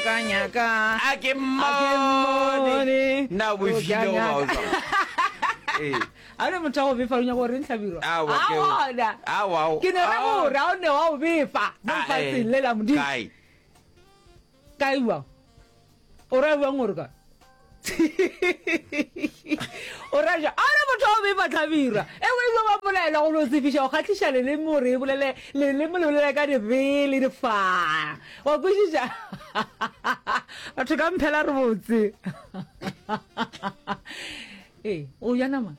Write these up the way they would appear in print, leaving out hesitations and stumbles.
nyaka nyaka. A ke mmone. Na o befile goba o jwang? Ee. A ne motho wa go befa o nyaka gore ntlhabirwa. Aowa, ke- A gona. Aowa, aowa. Ke ne ra gore a o ne wa go befa mo Ah, eh. lefatsheng le la Modimo. Kae? Kae bjang? O ra bjang gore kae? O ra bjang? A ne motho wa go befa tlhabirwa. E o ile wa bolaela go no tsefiša go kgahliša leleme gore e bolele leleme le bolele ka dibe le difa. Wa kwešiša? Batho ka mphela re botse. Ee, o ja nama.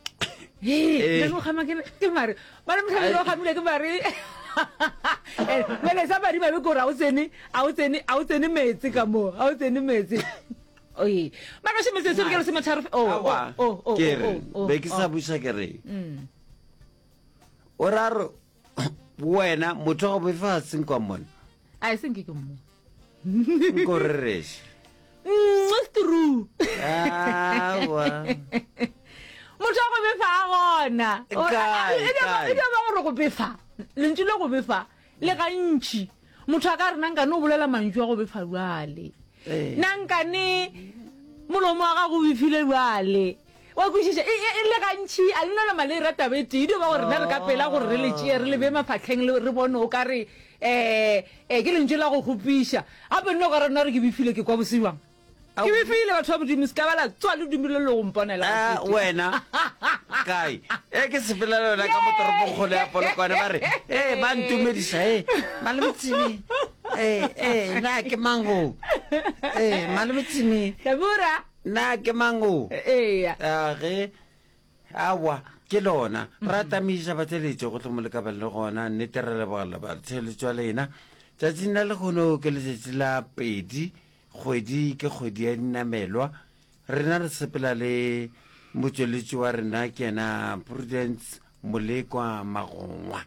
Ee, Ee. o kgama ke ke mare. Ba re mohlomongwe o kgamile ke mare. Eh, Bjale sa madi mabe ke gore ga o tsene, ga o tsene, ga o tsene meetse ka mo, ga o tsene meetse. Oye, mara še metsotso ke lesometharo. Oh, Aowa, oh, oh, ke re oh, oh, be ke sa oh. buša ke re o ra re wena motho wa go befa ga senkwa mona A e senke ke mo. Nko rereše. Mm, true. Aowa. Motho wa go befa a gona. Kae, E kae? e dio ba gore go befa. Lentšu le go befa le gantši. Motho a ka re nankane o bolela mantšu a go befa bjale. Ee. Nankane molomo wa gago o befile bjale. Wa kwešiša? E, e, e le gantši a le no nama le era taba e tee. E dio ba gore rena re ka pela gore re le tšee re le bee mafahleng le re bone o ka re um um ke lentšu la go kgopiša. Gape nna o ka re nna re ke befile ke kwa bose bjang. Ke befile batho ba Modimo se ka ba la tswa le dumile le go mponela Ah, gateetee. wena kae e ke sepela le wena ka mo toropongkgolo ya polokwane ba re e ba ntumediša e malometsimi e e na ke mang o e malometsimi Hlabura. Na ke mang o? Eya. A ge, aowa, ke lona. Ra tamiša batheeletši gohle mo le ka bang le gona. Nnete re leboga batheeletši wa lena. Tšatšing la lehono ke letšatši la pedi, kgwedi ke kgwedi ya dinamelwa. Rena re sepela le motšweletši wa rena ke yena Prudence Molekwa Magongwa.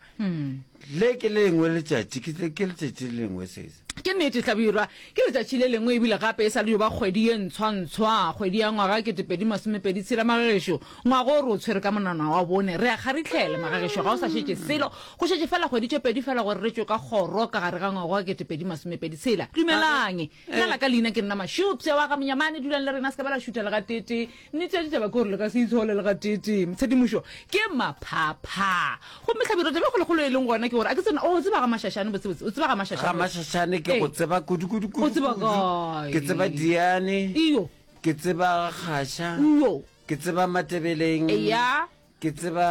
Le ke le lengwe letšatši, ke, ke letšatši le lengwe sese. Ke nnete, Hlabirwa. Ke letšatši le lengwe ebile gape e sa le yo ba kgwedi ye ntshwantshwa, kgwedi ya ngwaga 2026. Magagešo, ngwaga o re o tshwere ka monwana wa bone. Re a kgaritlhela, magagešo, ga o sa šetše selo. Go šetše fela kgwedi tše pedi fela gore re tšwe ka kgoro ka gare ga ngwaga wa 2026. Dumelang. Nna la ka leina ke nna Mašupša wa ga Monyamane. Dulang le rena, se ka ba la šutha le gateetee. Nnete ya ditaba ke gore le ka se itshole le gateetee. Tshedimošo ke maphapha. Gomme Hlabirwa, taba e kgolokgolo e leng gona ke gore a ke tsena, o tseba ga Mašašane botsebotse, o tseba ga Mašašane. Ga Mašašane ke go tseba kudu kudu kudu. O tseba kae? Ke tseba Diane. Iyo. Ke tseba Kgaša. Iyo. Ke tseba Matebeleng. Eya. Ke tseba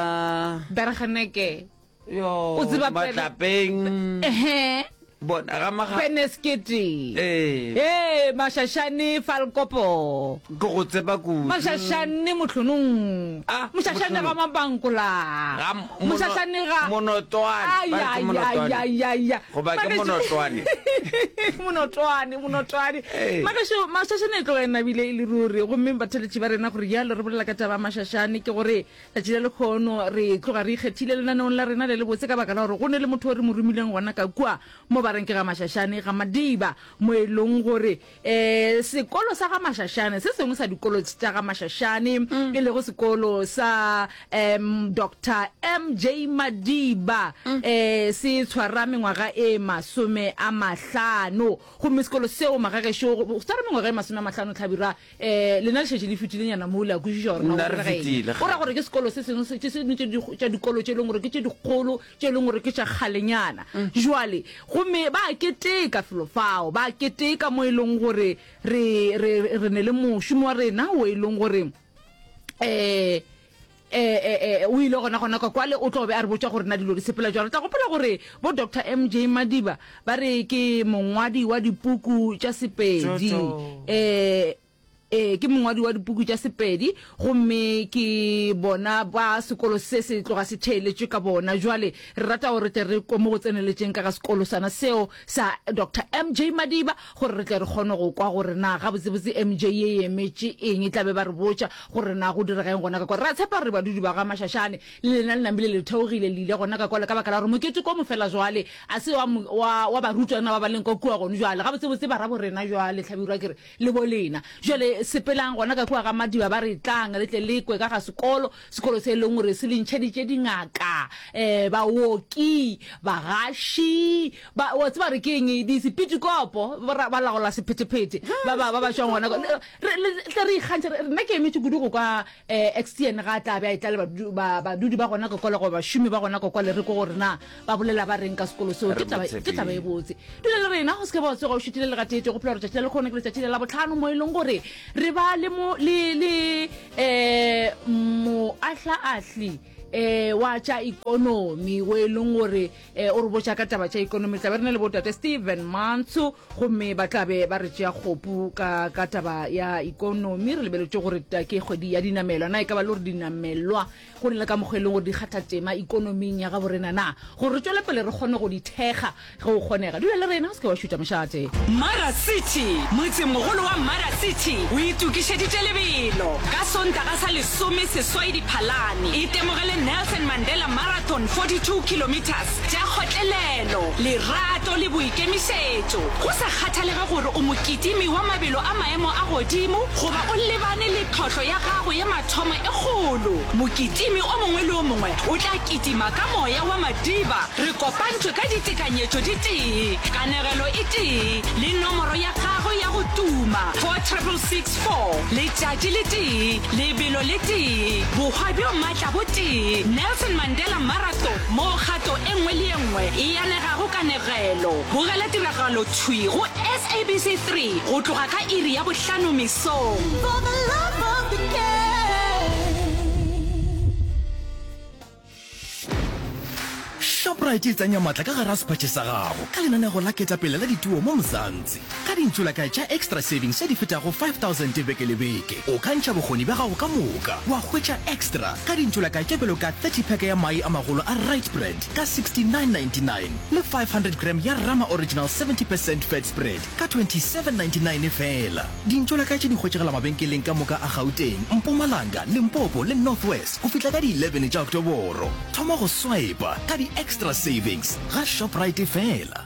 Bergeneke. Yo, O tseba Matlapeng. Ehe. Bona ga maga. Peneskete. Ee. Ee, Mašašane Falkopo. Ke go tseba kudu. Mašašane Mohlonong. Ah, Mošašane ga Mohlonong. Mabankola. Ga mono- Mošašane ga Monotwane. Ai, Ba re ke ai, Monotwane. ai, ai, ai, ai. Goba ke Magešo- Monotwane. Monotwane, Monotwane. Ee. Magešo, Mašašane e tloga e nabile e le ruri. Gomme batheletši ba rena gore bjalo re bolela ka taba ya Mašašane ke gore Tšatši la lekgono re tloga re ikgethile lenaneong la rena le lebotse ka baka la gore go ne le motho o re mo romileng gona ka kua mo ba reng ke ga Mašašane ga Madiba mo e leng gore um sekolo sa ga Mašašane se sengwe sa dikolo tša ga Mašašane e lego sekolo sa um Doctor MJ Madiba um se tshwara mengwaga e 50 gomme sekolo seo magagešo go tshwara mengwaga e 50 Hlabirwa Eh, lena le šetše le fetilenyana mo le a kwešiša gore na Nna go re direga eng. fetile, Go ra gore ke sekolo se sengwe se sengwe tše di- tša dikolo tše e leng gore ke tše dikgolo tše e leng gore ke tša kgalenyana. Jwale gomme ba a keteka felo fao, ba a keteka mo e leng gore re re re ne le mošomi wa rena o e leng gore eh Eh, eh, eh, o ile gona gona ka kwale o tlo be a re botša gore na dilo di sepela jwang. Re tla gopola gore bo Doctor MJ Madiba ba re ke mongwadi wa dipuku tša Sepedi. Eh, eh, ke mongwadi wa dipuku tša Sepedi gomme ke bona ba sekolo se se tloga se theeletšwe ka bona. Jwale re rata gore re tle re kwe mo go tseneletšeng ka ga sekolo sana seo sa Doctor MJ Madiba gore re tle re kgone go kwa gore na gabotsebotse MJ ye e emetše eng. E tla be ba re botša gore na go direga eng gona ka kwa. Re a tshepa gore badudi ba ga Mašašane le lena le namile le theogile le ile gona ka kwale ka baka la gore mokete ko mofela jwale a se wa, wa, wa barutwana ba ba leng ka kua gone jwale. Gabotsebotse barabo rena jwale, Hlabirwa ke re, le bo lena. Jwale Gomme sepelang gona ka kua ga Madiba ba re tlang le tle le kwe ka ga sekolo, sekolo se e leng gore se le ntšheditše dingaka, um baoki, bagaši, ba, wa tseba re ke eng, disepitikopo, ba, ba laola sephethephethe, ba, ba, ba ba tšwang gona kwa. Re, le tle re ikgantšhe, re, nna ke emetše kudu go kwa um Extian ga a tla be a etla le badudi ba, badudi ba gona ka kwale goba bašomi ba gona ka kwale re kwe gore na ba bolela ba reng ka sekolo seo. Ke taba, ke taba e botse. Dula le rena, o se ke ba wa tsoga o šutile le gateetee. Gopola gore tšatši la lekgono ke letšatši la Labohlano mo e leng gore re ba le mo, le, le um moahlaahli um wa tša ikonomi wo e leng gore um o re botša ka taba tša ikonomi. Re tla be re na le botate Steven Mantsho gomme ba tla be ba re tšea kgopu ka, ka taba ya ikonomi. Re lebeletše gore ke kgwedi ya dinamelwa. Na e ka ba le gore dinamelwa go na le ka mokgwa e leng gore di kgatha tema ikonoming ya gabo rena na? Gore re tšwele pele re kgone go di thekga ge go kgonega. Dula le rena, o se ke wa šutha mošate. Mara City, Motsemogolo wa Mara City o itokišeditše lebelo. Ka Sontaga sa lesomeseswai Diphalane, itemogele Nelson Mandela Marathon 42 kilometres tša kgotlelelo, lerato le boikemišetšo. Go sa kgathalege gore o mokitimi wa mabelo a maemo a godimo goba o lebane le tlhohlo ya gago ya mathomo e kgolo, mokitimi o mongwe le o mongwe o tla kitima ka moya wa Madiba. Re kopantšwe ka ditekanyetšo di tee, kanegelo e tee, le nomoro ya gagwe ya go tuma, 46664, letšatši le tee, lebelo le tee, bohwa bjo matla bo tee, Nelson Mandela Marathon, moo kgato e nngwe le e nngwe e anegago kanegelo. Bogela tiragalo thwi go SABC 3 go tloga ka iri ya bohlano mesong. For the love of the game. Shoprite e tsenya matla ka gare ga sephatše sa gago ka lenanego la ketapele la dituo mo Mzansi. Ka dintšolakae tša Xtra Savings tše di fetago 5000 beke le beke, o ka ntšha bokgoni bja gago ka moka wa hwetša Xtra ka dintšolakae tše bjalo ka 30 pack ya mae a magolo a Rite Brand ka 69.99 le 500 gram ya Rama Original 70 percent fat spread ka 27.99 feela. Dintšolakae tše di hwetšagala mabenkeleng ka moka a Gauteng, Mpumalanga, Limpopo le North West go fihla ka di 11 tša Oktoboro. Thoma go swipa ka di-Xtra Savings ga Shoprite feela.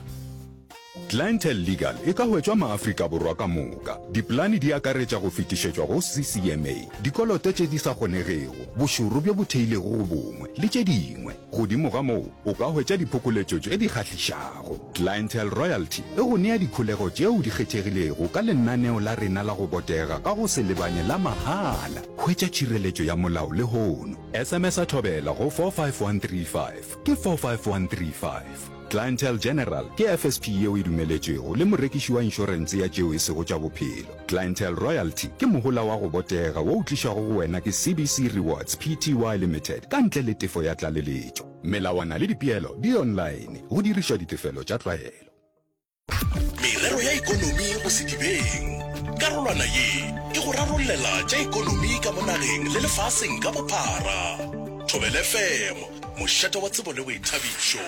Clientele Legal e ka hwetšwa maAfrika Borwa ka moka. Dipolane di akaretša go fetišetšwa go CCMA, dikoloto tše di sa kgonegego, bošoro bjo bo theilego go bongwe, le tše dingwe. Godimo ga moo, o ka hwetša diphokoletšo tše di kgahlišago. Clientele Royalty e go nea dikholego tšeo di kgethegilego ka lenaneo la rena la go botega ka go se lebanye la mahala. Hwetša tšhireletšo ya molao lehono. SMS-a Thobela go 45135. Ke 45135. Clientele General ke FSP yeo e dumeletšwego le morekiši wa inšorense ya tšeo e sego tša bophelo. Clientele Royalty ke mohola wa go botega wo o tlišwago go wena ke CBC Rewards Pty Limited ka ntle le tefo ya tlaleletšo. Melawana le dipeelo di online go dirišwa ditefelo tša tlwaelo. Merero ya ekonomi go sedibeng. Karolwana ye e go rarollela tša ekonomi ka mo nageng le lefaseng ka bophara. Thobela FM, mošate wa tsebo le boithabišo.